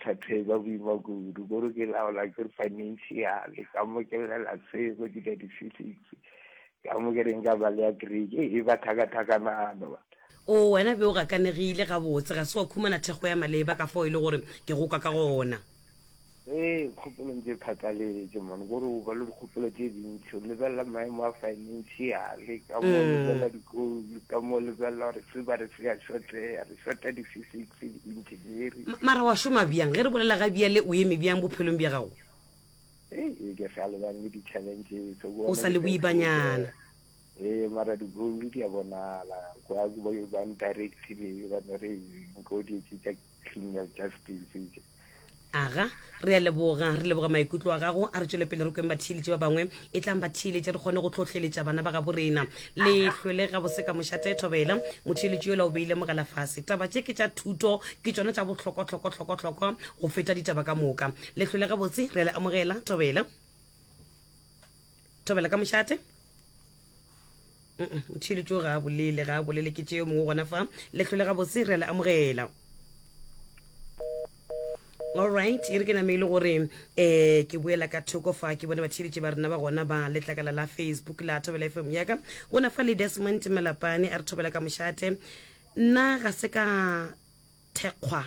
Bothata e ba boima kudu, kore ke laola ke financial, ka mo ke llela se go dira di-physics, ka mo ke reng ka ba le ya Greek, e ba thakathakanano. O wena be o gakanegile gabotse, ga se wa khumana thekgo ya maleba ka fao e le gore ke go kwa ka gona. Ee, kgopolong tše phatlaletše man, kore o ba le dikgopolo tše dintši, o lebelela maemo a financial, ka mo o lebelela dikolo, ka mo o lebelela gore se ba re se a šotleya, re šota di-physics, di-engineering. Mara wa šoma bjang? Ge re bolela ga bjale o eme bjang bophelong bja gago? Ee, ke sa lebane le di-challenges. O sa le boibanyana. Ee, mara di-goal di a bonala, kwa ba ntirectile ba no re nko di tša Criminal Justice tše. Aga, re a leboga, re leboga maikutlo a gago. A re tšwele pele re kweng batheeletši ba bangwe. E tlang batheeletše re kgone go hlohleletša bana ba gabo rena. Le hlwele gabose ka mošate thobela. Motheeletši yola o beile mogala fase. Taba tše ke tša thuto, ke tšona tša bohlokwa-hlokwa-hlokwa-hlokwa go feta ditaba ka moka. Le hlwele gabotse, re a le amogela, thobela. Thobela ka mošate. Motheeletši ga a bolele, ga a bolele ke tše yo mongwe gona fa. Le hlwele gabotse, re a le amogela. Alright, e re ke name e le gore um ke boela ka thoko fa ke bone batheeletši ba rena ba gona ba letlakala la Facebook la Thobela FM yaka. Gona fa le Desmond Malapane a re thobela ka mošate. Nna ga se ka thekgwa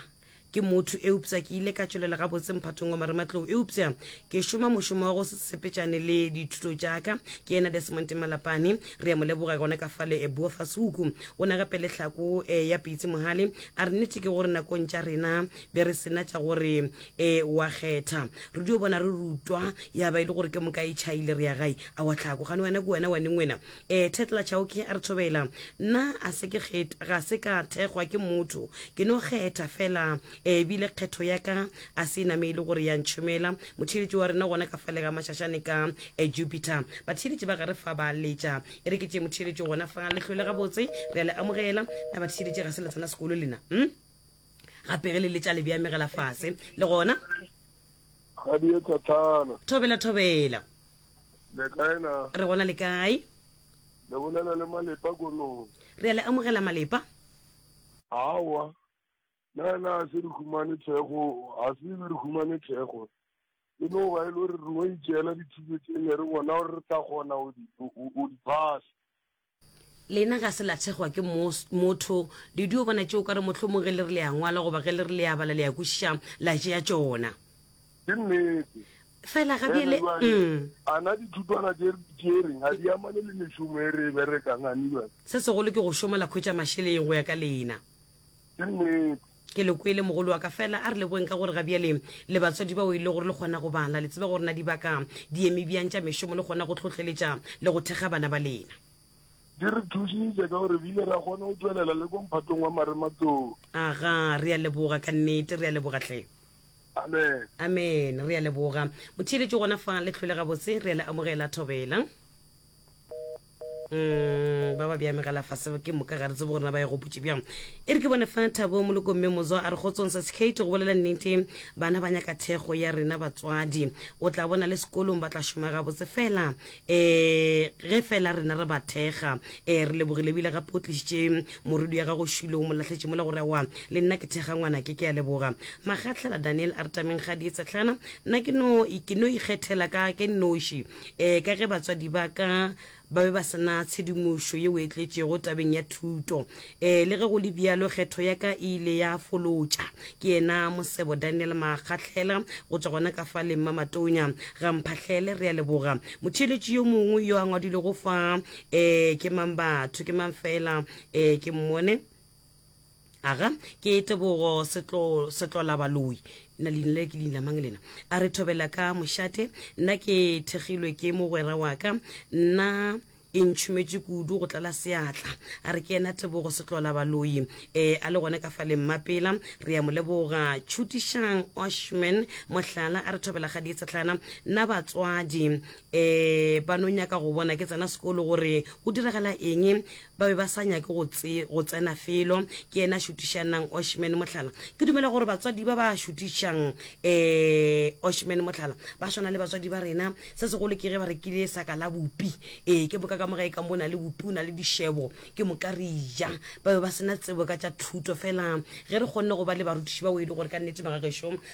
ke motho eupša ke ile ka tšwelela gabotse mphatong wa marematlou eupša ke šoma mošomo wa go se sepetšane le dithuto tša ka. Ke yena Desmond Malapane, re a mo leboga gona ka fale e bua fasuku. O na gape le hlako eh, ya Pitsi Mohale a re nnete ke gore nakong tša rena be re sena tša gore e wa kgetha. Re dio bona re rutwa ya ba e le gore ke moka e tšhaile re ya gae. A wa tlhako gane wena ke wena wa neng wena? E Tetla Chauke a re thobela. Nna a se ke kget ga se ka thekgwa ke motho. Ke no kgetha fela e bile kgetho ya ka a se name e le gore ya ntšhomela. Motheeletši wa rena gona ka fale ga Mašašane ka e Jupiter. Batheeletši ba gare fa ba letša. E re ke tšee motheeletši gona fa le hlwele gabotse. Re a le amogela. Na batheeletši ga se la tsena sekolo lena? Hm? Gape ge le letša le bea megala fase. Le gona? Kgadi e thathana. Thobela thobela. Le kae na? Re gona le kae? Le bolela le Malepa Konong. Re a le amogela Malepa. Aowa. Na na se re humane thekgo, ga se be re humane thekgo. E no ba e le gore re no itšeela dithuto tše ne re bona gore re tla kgona go di phasa. Lena ga se la thekgwa ke motho. Le dio bona tše o ka re mohlomong ge le re le a ngwala goba ge le re le a bala le a kwešiša, la tšea tšona. Ke nnete. Fela ga bjale. Mm. A na dithutwana tše re di tšereng ga di amane le mešomo e re e berekang, a ne bjale? Se segolo ke go šoma la khwetša mašeleng go ya ka lena. Ke nnete. Ke le kwele mogolo wa ka, fela a re leboeng ka gore ga bjale le batswadi bao e le gore le kgona go bala, le tseba gore na dibaka di eme bjang tša mešomo, le kgona go hlohleletša le go thekga bana ba lena. Di re thušitše ka gore re ile ra kgona go tšwelela le ko mphatong wa marematlou. Aga, re a leboga ka nnete, re a leboga hle. Amen. Amen, re a leboga. Motheeletši gona fa le hlwele gabotse, re a le amogela Thobela. Mm, ba ba bja megala fase ke moka ga re tsebe gore na ba e gopotše bjang. E re ke bone fa Thabo Moloko mme Mozwa a re kgotsong sa Kate go bolela nnete bana ba nyaka thekgo ya rena batswadi. O tla bona le sekolong ba tla šoma gabotse fela eh ge fela rena re ba thekga. Eh re lebogile ebile gape o tlišitše morwedi ya gago Šilo o mo lahletše mola gore aowa le nna ke thekga ngwanake ke a leboga. Magatlhela Daniel a re tameng ga di tsehlana nna ke no ke no ikgethela ka ke nnoši Ee, ka ge batswadi ba ka ba be ba se na tshedimošo yeo e tletšego tabeng ya thuto. Ee, le ge go le bjalo, kgetho ya ka e ile ya folotša. Ke yena Mosebo Daniel Makgahlela go tšwa gona ka fa le Mmamatonya ga Mphahlele. Re a leboga. Motheeletši yo mongwe yo a ngwadilego fa, ee, ke mang batho, ke mang fela, ee, ke mmone. Aga, ke Tebogo Setlo, Setlolabaloi. Nna leina le ke leina mang lena? A re thobela ka mošate. Nna ke thekgilwe ke mogwera wa ka. Nna e ntšhometše kudu go tlala seatla. A re ke yena Tebogo Setlolabaloi. E, a le gona ka fa le Mmapela. Re a mo leboga. Tšhutišang Oshman Mohlala a re thobela ga dietsetlana. Nna batswadi e, ba no nyaka go bona ke tsena sekolo gore go diragala eng. Ba be ba sa nyake go, tse, go tsena felo. Ke yena šutišanang Oshman mohlala. Ke dumela gore batswadi ba ba šutišang eh, Oshman mohlala ba swana le batswadi ba rena. Se segolo ke ge ba rekile saka la bupi. Ee, ke moka ka mo gae ka mo o na le bupi, o na le dišebo, ke moka re ja. Ba be ba se na tsebo ka tša thuto, fela ge re kgonne go ba le barutiši bao e le gore ka nnete magagešo.